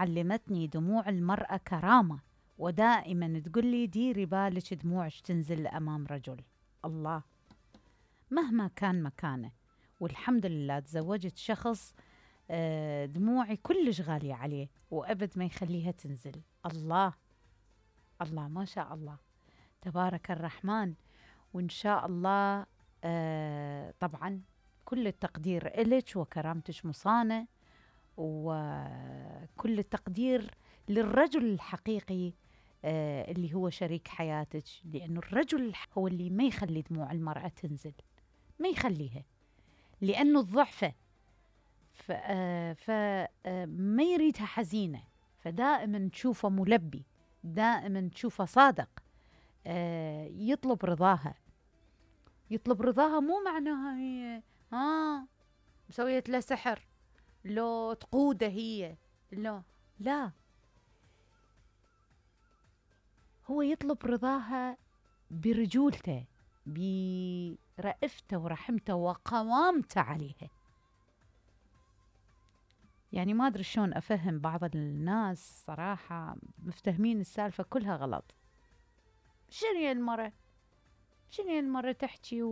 علمتني دموع المرأة كرامة، ودائما تقول لي ديري بالك دموعك تنزل أمام رجل. الله، مهما كان مكانه. والحمد لله تزوجت شخص دموعي كلش غالية عليه وأبد ما يخليها تنزل. الله الله ما شاء الله تبارك الرحمن. وإن شاء الله طبعا كل التقدير إلك وكرامتك مصانة، وكل التقدير للرجل الحقيقي اللي هو شريك حياتك، لأنه الرجل هو اللي ما يخلي دموع المرأة تنزل، ما يخليها، لأنه الضعفة فما يريدها حزينة، فدائما تشوفه ملبي، دائما تشوفه صادق، يطلب رضاها. يطلب رضاها مو معناها هي مسوية له سحر، لو تقوده هي، لا، هو يطلب رضاها برجولته، برأفته ورحمته وقوامته عليها. يعني ما أدري شلون أفهم بعض الناس صراحة مفتهمين السالفة كلها غلط. شنو المرة تحكي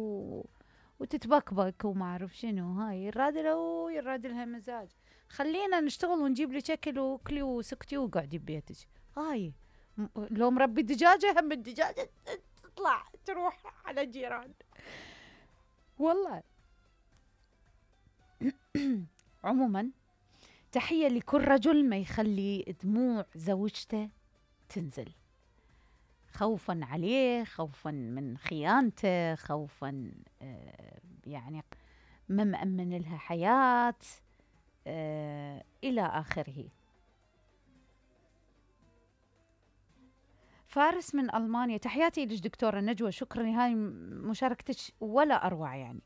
وتتبكبك وما أعرف شنو، هاي يراد لها مزاج. خلينا نشتغل ونجيب لك أكل وكلي وسكتي وقعدي ببيتك. هاي لو مربي دجاجة، هم الدجاجة تطلع تروح على جيران والله. عموما تحية لكل رجل ما يخلي دموع زوجته تنزل، خوفا عليه، خوفا من خيانته، خوفا يعني ما مأمن لها حياة إلى آخره. فارس من ألمانيا، تحياتي لك دكتورة نجوى، شكرا، هاي مشاركتك ولا أروع يعني.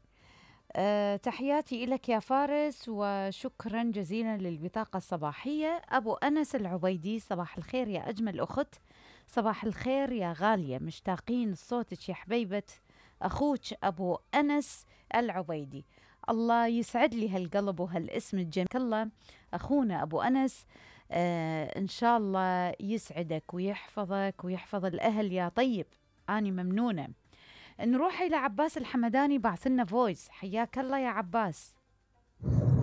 تحياتي لك يا فارس وشكرا جزيلا للبطاقة الصباحية. أبو أنس العبيدي، صباح الخير يا أجمل أخت، صباح الخير يا غالية، مشتاقين صوتك يا حبيبة أخوك أبو أنس العبيدي. الله يسعد لي هالقلب وهالاسم الجميل. الله أخونا أبو أنس، إن شاء الله يسعدك ويحفظك ويحفظ الأهل يا طيب. أنا ممنونة. نروح إلى عباس الحمداني، بعث لنا فويس. حياك الله يا عباس.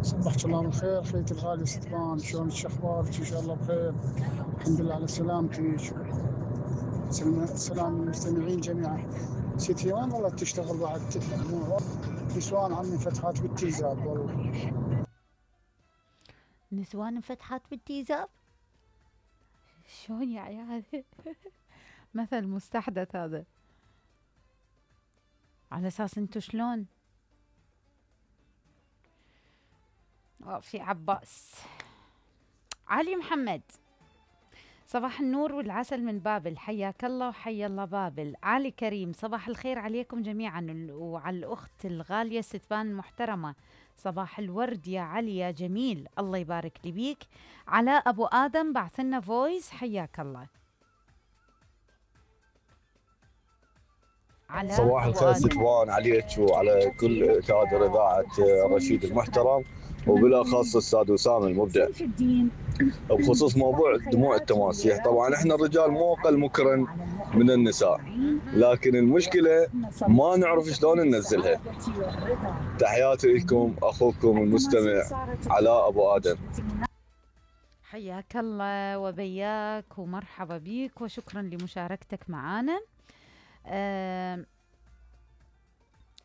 صبحك الله بالخير خيتي الغالية ستفان، شلونك شخبارك؟ إن شاء الله بخير، الحمد لله على سلامتك. سلام المستمعين جميعا. ستي وين والله تشتغل بعد نسوان عمي فتحات بالتيزاب والله. نسوان فتحات بالتيزاب شلون يا عيال؟ مثل مستحدث هذا، على أساس أنتو شلون؟ في عباس. علي محمد، صباح النور والعسل من بابل، حياك الله وحيا الله بابل. علي كريم، صباح الخير عليكم جميعا وعلى الأخت الغالية ستفان المحترمة، صباح الورد يا علي يا جميل، الله يبارك لي بيك. علاء أبو آدم بعث لنا فويس، حياك الله. صباح الخير ستفان عليك وعلى كل كادر إذاعة رشيد المحترم، وبالأخص الأستاذ وسام المبدع، بخصوص موضوع دموع التماسيح. طبعا احنا الرجال مو أقل مكرا من النساء، لكن المشكلة ما نعرف شلون ننزلها. تحياتي لكم أخوكم المستمع علاء أبو آدم. حياك الله وبياك ومرحبا بيك وشكرا لمشاركتك معنا.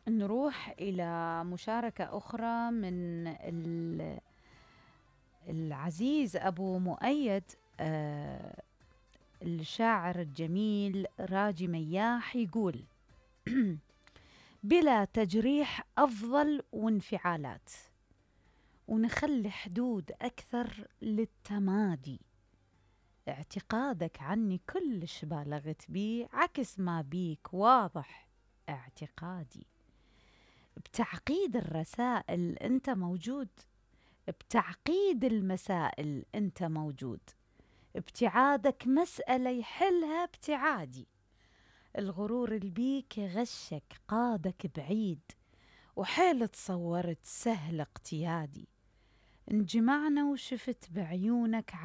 نروح إلى مشاركة أخرى من العزيز أبو مؤيد، الشاعر الجميل راجي مياح، يقول: بلا تجريح أفضل وانفعالات، ونخلي حدود أكثر للتمادي، اعتقادك عني كلش بالغت بيه، عكس ما بيك واضح اعتقادي، بتعقيد الرسائل انت موجود، بتعقيد المسائل انت موجود، ابتعادك مسألة يحلها ابتعادي، الغرور البيك غشك قادك بعيد، وحيل تصورت سهل اقتيادي، انجمعنا وشفت بعيونك على